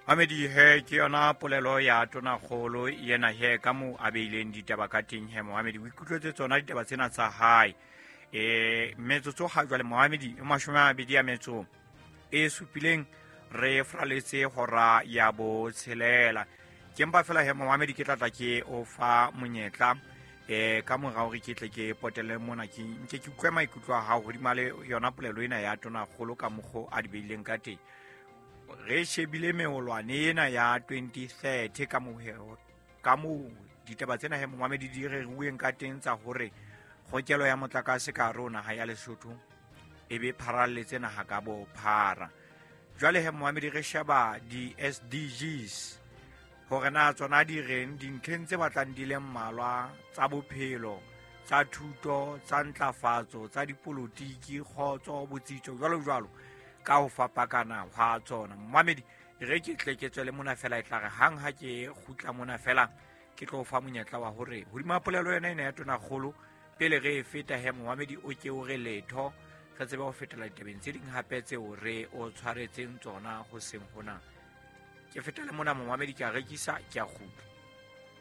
Mamedi he ke yona polelo ya tonakgolo yena he ka moo a beileng ditaba ka teng he. Mohamedi, o ikutlwetse tsona ditaba tsena tsa hae. Metsotso ga jwale, mohamedi, e 20 a metso e supileng re fraletse hora ya 6. Ke mpa fela he, mohamedi, ke tlatla ke o fa monyetla ka mora hore ke tle ke potele mona, ke nke ke utlwe maikutlo a hao hodima le yona polelo ena ya tonakgolo ka mokgo a di beileng ka teng. Re shebile meolwane ena ya 2030 ka moho ka moo ditaba tsena he, momamedi, di reruweng ka teng tsa hore kgokelo ya motlakase ka hare ho naha ya Lesotho e be pharalletse naha ka bophara. Jwale he, momamedi, re sheba di-SDGs hore na tsona di reng dintlheng tse batlang di le mmalwa tsa bophelo, tsa thuto, tsa ntlafatso, tsa dipolotiki, kgotso, botsitso, jwalo jwalo ka ho fapakana hwa tsona. Momamedi, re ke tle ke tswele mona fela, e tla re hang ha ke kgutla mona fela ke tlo fa monyetla wa hore hodima polelo yona ena ya tonakgolo pele re e feta he, momamedi, o ke o re letho, re tsebe ho fetela ditabeng tse ding hape tseo re o tshwaretseng tsona ho seng hona. Ke fetele mona, momamedi, ke a rekisa, ke a kgutla.